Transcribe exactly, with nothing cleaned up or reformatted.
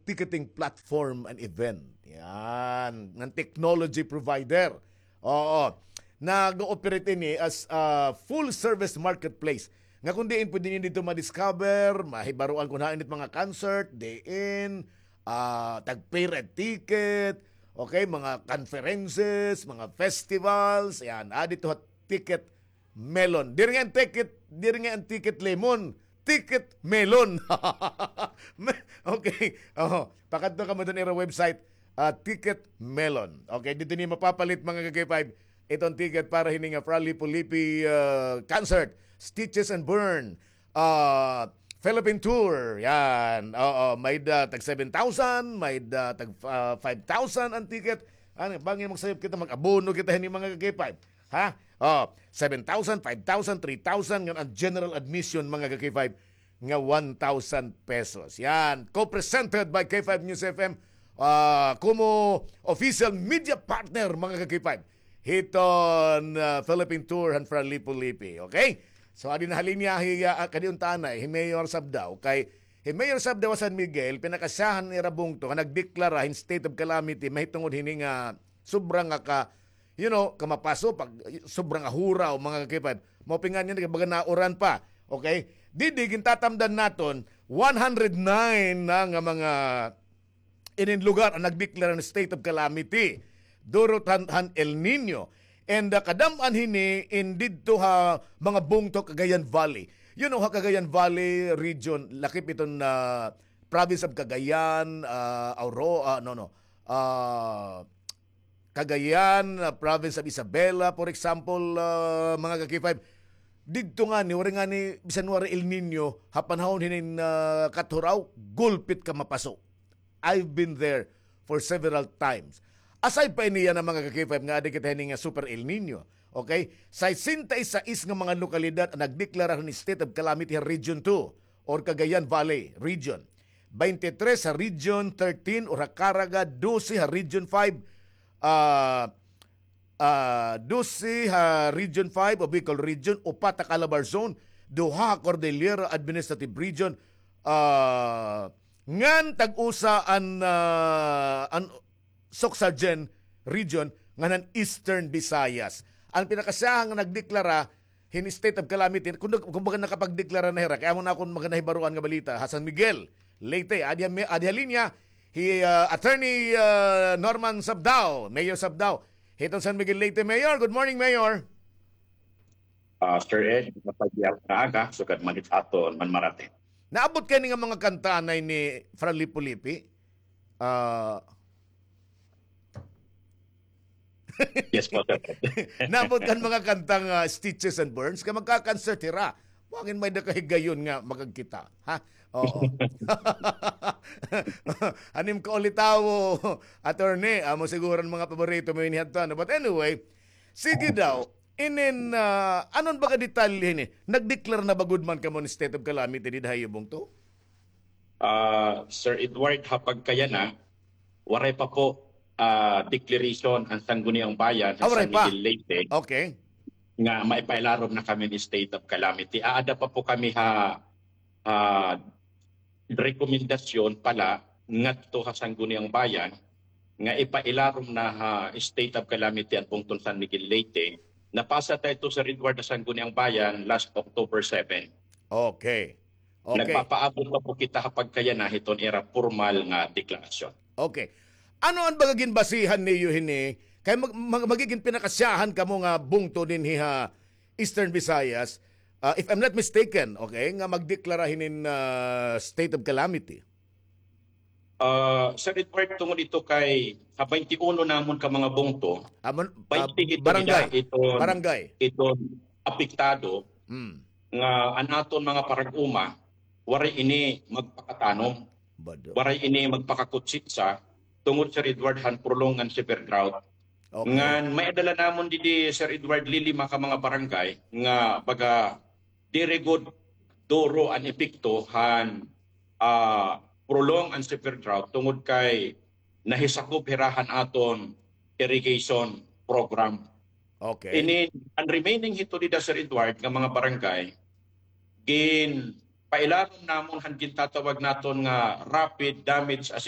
ticketing platform and event. Yan. Ng technology provider. Oo. Nag-ooperate ini as a full-service marketplace. Nga kung diin pwede niyo dito ma-discover, mahibaruan kung hain it mga concert, diin, ah, tag-pay ra ticket, okay, mga conferences, mga festivals, yan. Ah, dito ha Ticket Melon. Diri nga an ticket, diri nga an ticket lemon. Ticket Melon. Me-, okay. Oh, pakadto kamo dun ira website, ah, Ticket Melon. Okay, dito niyo mapapalit, mga ka-K five, iton ticket para hini nga Fra Lippo Lippi, ah, concert, Stitches and Burn, ah, Philippine Tour. Yan. Oo, may da tag seven thousand, may da tag, ah, five thousand an ticket. Ano, bangin magsayop kita, mag-abono kita hini, mga ka-K five. Ha? Oh, seven thousand, five thousand, three thousand, ngan an general admission, mga ka-K five, nga one thousand pesos. Yan, co-presented by K five News F M, ah, komo official media partner, mga ka-K five, hiton, ah, Philippine Tour han Fra Lippo Lippi. Okay? So, adi na ha linya hi, ah, kadi unta anay, hi Mayor Sabdao. Kay hi Mayor Sabdao ha San Miguel, pinakasyahan nira bungto nga nagdeklara hin state of calamity mahitungod hini nga sobra nga ka you know, kamapaso, pag sobrang ahuraw, mga ka-K five. Mao pa nga niyan, baga nauran pa. Okay? Didi, gintatamdan naton, one hundred nine na nga mga inin lugar an nagdeklara hin state of calamity. Durot han, han El Niño. And, ah, kadam-an hini in didto ha mga bungto Cagayan Valley. You know, ha Cagayan Valley region, lakip iton, ah, province of Cagayan, ah, Auro-, ah, no, no. Ah, Cagayan, ah, province of Isabela, for example, ah, mga ka-K five, didto ngani, waray ngani, bisan waray El Niño, ha panahon hinin, ah, kathuraw, gulpit ka mapaso. I've been there for several times. Aside pa ini yana, mga ka-K five, nga adi kita hini nga super El Niño. Okay? Sesenta y seis nga mga lokalidad an nagdeklara hin state of calamity ha Region two or Cagayan Valley Region. Twenty-three ha Region thirteen or ha Caraga, dose ha Region five, ah, ah, dose ha Region five o Bicol Region, upat ha Calabar Zone, duha ha Cordillera Administrative Region, ah, ngan tag-usa an, ah, an Soccsksargen Region ngan an Eastern Visayas. An pinakasyahan nga nagdeklara hin state of calamity, kun, kumbaga nakapagdeklara na hira, kay amo na akon mga nahibaruan nga balita, ha San Miguel, Leyte, adi ha, adi ha linya, hi, ah, Attorney, ah, Norman Sabdao, Mayor Sabdao, hiton San Miguel, Leyte. Mayor, good morning, Mayor. Ah, Sir Ed, mapagyaw nga aga, sugad man it aton Manmarate. Naabot kay ni nga mga kanta anay ni Fra Lippo Lippi? Ah, Yes po, sir. Naabot kan mga kantang, ah, Stitches and Burns, kay magka-concert hira. Mangin may da ka higayon nga makagkita, ha? Oo. Hanim ka ulitawo, attorney, amo siguro an mga paborito mo ini hadto, ano? But anyway, sige daw, inin, ah, anon baga detalye hini? Nagdeklara na ba gud man kamo hin state of calamity dida ha iyo bungto? Ah, Sir Edward, ha pagkayana, waray pa po, ah, declaration an Sangguniang Bayan ha San Miguel, Leyte, okay, nga maipailarom na kami hin state of calamity. Aada pa po kami ha, ha rekomendasyon pala ngadto ha Sangguniang Bayan nga ipailarom na ha state of calamity an bungton San Miguel, Leyte. Napasa ta ito, Sir Edward, ha Sangguniang Bayan last October seven. Okay. Okay. Nagpapaabot pa po kita ha pagkayana hiton ira pormal nga deklarasyon. Okay. Ano an baga ginbasihan niyo hini? Kay mag-, mag-, magigin pinakasyahan kamo nga bungto dinhi ha Eastern Visayas, ah, if I'm not mistaken, okay, nga magdeklara hinin, ah, state of calamity. Ah, Sir Edward, tungod ito kay ha twenty-uno namon ka mga bungto, twenty ito nila, barangay, iton, barangay, iton apektado, hmm, nga an aton mga parag-uma, waray ini magpakatanom, waray ini magpakakutsitsa, tungod, Sir Edward, han prolonged and severe drought. Okay. Ngan may-ada la namon didi, Sir Edward, lilima ka mga barangay nga baga diri gud duro an epekto han, ah, prolonged and severe drought tungod kay nahisakob hira han aton irrigation program. Okay. Ini, an remaining hito dida, Sir Edward, nga mga barangay, ginpailarom namon han gintatawag naton nga rapid damage